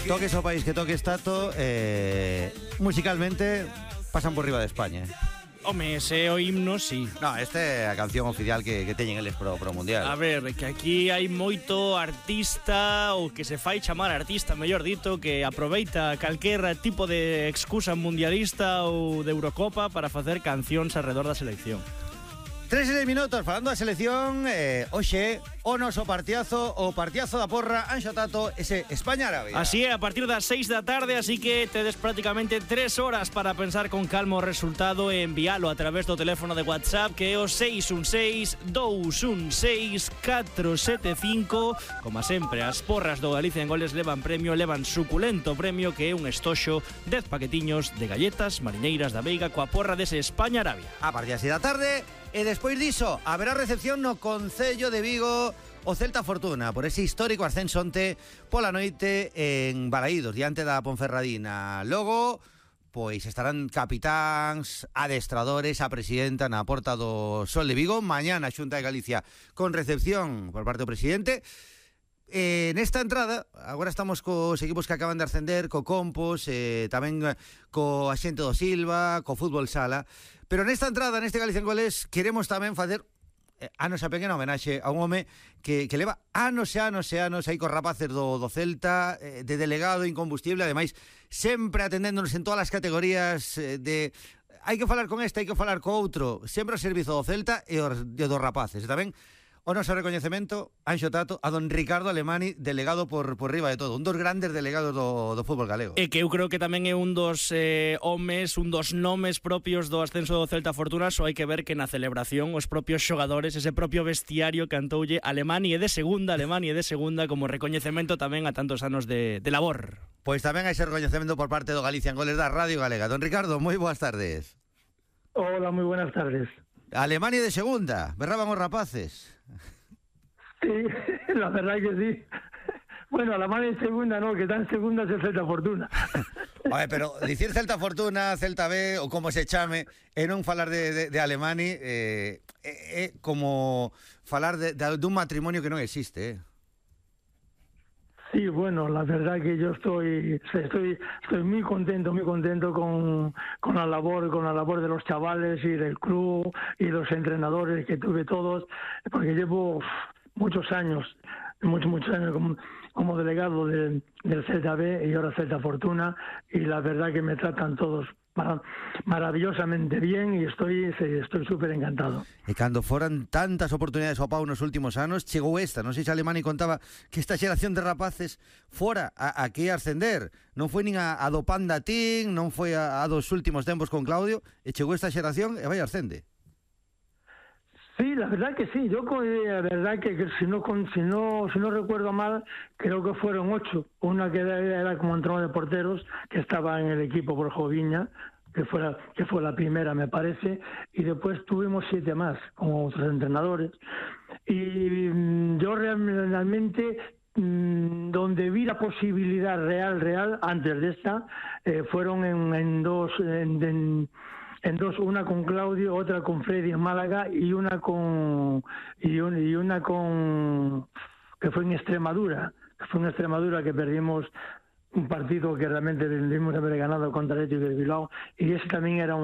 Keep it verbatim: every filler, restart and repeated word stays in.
toques o país que toques, Tato, eh, musicalmente pasan por riba de España. Home, ese o himno, sí. No, esta é a canción oficial que, que teñen eles pro, pro Mundial. A ver, que aquí hai moito artista, ou que se fai chamar artista, mellor dito, que aproveita calquer tipo de excusa mundialista ou de Eurocopa para facer cancións alrededor da selección. Tres e seis minutos, falando da selección, eh, hoxe, o noso partiazo, o partiazo da porra, Anxo Tato, ese España-Arabia. Así é, a partir das seis da tarde, así que tedes prácticamente tres horas para pensar con calma o resultado e envialo a través do teléfono de WhatsApp, que é o seis un seis, dous un seis, catro sete cinco. Como sempre, as porras do Galicia en Goles levan premio, levan suculento premio, que é un estoxo, dez paquetiños de galletas mariñeiras da Veiga coa porra dese España-Arabia. A partir das seis da tarde... E despois diso, haberá recepción no Concello de Vigo o Celta Fortuna por ese histórico ascenso onte pola noite en Balaídos, diante da Ponferradina. Logo, pois estarán capitáns, adestradores, a presidenta na porta do Sol de Vigo. Mañana a Xunta de Galicia con recepción por parte do presidente. Eh, nesta entrada, agora estamos cos equipos que acaban de ascender, co Compos, eh, tamén co Axente do Silva, co Fútbol Sala. Pero nesta entrada, neste Galicia en Goles, queremos tamén facer eh, a nosa pequena homenaxe a un home que, que leva anos e anos e anos aí cos rapaces do, do Celta, eh, de delegado incombustible, ademais, sempre atendéndonos en todas as categorías eh, de... Hai que falar con este, hai que falar co outro, sempre ao servizo do Celta e, os, e dos rapaces. E tamén o noso recoñecemento, Anxo Tato, a don Ricardo Alemani, delegado por, por riba de todo, un dos grandes delegados do, do fútbol galego. E que eu creo que tamén é un dos eh, homes, un dos nomes propios do ascenso do Celta Fortuna. Só hai que ver que na celebración os propios xogadores, ese propio vestiario cantoulle Alemani é de segunda, Alemani é de segunda, como recoñecemento tamén a tantos anos de, de labor. Pois tamén hai ese recoñecemento por parte do Galicia en Goles da Radio Galega. Don Ricardo, moi boas tardes. Hola, moi buenas tardes. Alemania de segunda, berraban os rapaces. Sí, la verdad que sí. Bueno, Alemania de segunda no, que está en segunda es el Celta Fortuna. Oye, pero dicir Celta Fortuna, Celta B, ou como se chame, e non falar de, de, de Alemani, é eh, eh, como falar de, de, de un matrimonio que non existe, eh. Sí, bueno, la verdad que yo estoy estoy estoy muy contento, muy contento con, con la labor, con la labor de los chavales y del club y los entrenadores que tuve todos, porque llevo muchos años, muchos muchos años como, como delegado de, del Celta B y ahora Celta Fortuna, y la verdad que me tratan todos mar maravillosamente bien e estoy estoy súper encantado. E cando foran tantas oportunidades ao pau nos últimos anos, chegou esta, non sei se Alemani contaba que esta xeración de rapaces fora a, a que ascender, non foi nin a, a do Panda Team, non foi a, a dos últimos tempos con Claudio, e chegou esta xeración e vai ascende. Sí, la verdad que sí. Yo, la verdad que, que si no si no si no recuerdo mal, creo que fueron ocho. Una que era, era como entrenador de porteros, que estaba en el equipo por Joviña, que fue la, que fue la primera, me parece, y después tuvimos siete más como otros entrenadores. Y mmm, yo realmente mmm, donde vi la posibilidad real real antes de esta eh, fueron en, en dos en, en, en dos, una con Claudio, otra con Freddy en Málaga y una con y, un, y una con que fue en Extremadura, que fue en Extremadura que perdimos un partido que realmente debimos haber ganado contra el Atlético de Bilbao, y ese también era un